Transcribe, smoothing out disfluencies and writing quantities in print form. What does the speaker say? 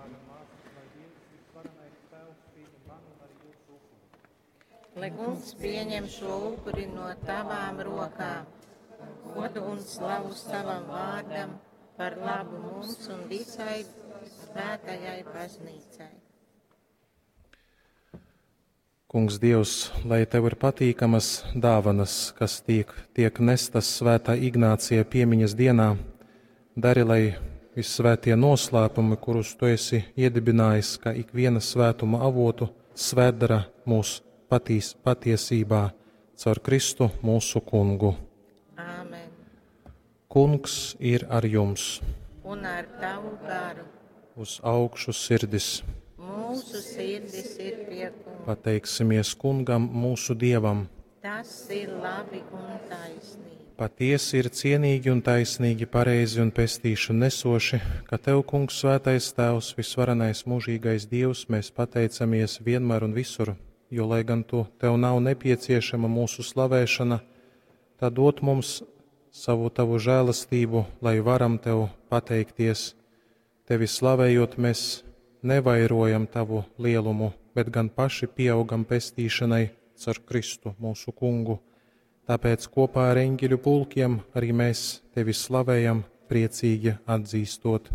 brāļi un māsas, lai Dievs, visvarenais Tēvs, pieņem manu un arī jūsu upuri. Lai kungs pieņem šo upuri no tavām rokām, godu un slavu savam vārdam par labu mums un visai svētajai baznīcai. Kungs Dievs, lai Tev ir patīkamas dāvanas, kas tiek, tiek nestas svētā Ignācija piemiņas dienā, dari, lai vissvētie noslēpumi, kurus Tu esi iedibinājis, kā ikviena svētuma avotu, svētdara mūs patīs, patiesībā caur Kristu mūsu kungu. Āmen. Kungs ir ar jums, Un ar tavu garu uz augšu sirdis. mūsu sirdis ir pie kunga. Pateiksimies kungam, mūsu dievam. Tas ir labi un taisnīgi. Patiesi ir cienīgi un taisnīgi, pareizi un pestīšanu nesoši, ka Tev, Kungs, Svētais Tēvs, visvarenais mūžīgais Dievs, mēs pateicamies vienmēr un visur, jo, lai gan Tu, Tev nav nepieciešama mūsu slavēšana, tad dod mums savu Tavu žēlastību, lai varam Tev pateikties. Tevi slavējot, mēs nevairojam Tavu lielumu, bet gan paši pieaugam pestīšanai caur Kristu, mūsu Kungu. Tāpēc kopā ar eņģeļu pulkiem arī mēs tevi slavējam, priecīgi atzīstot.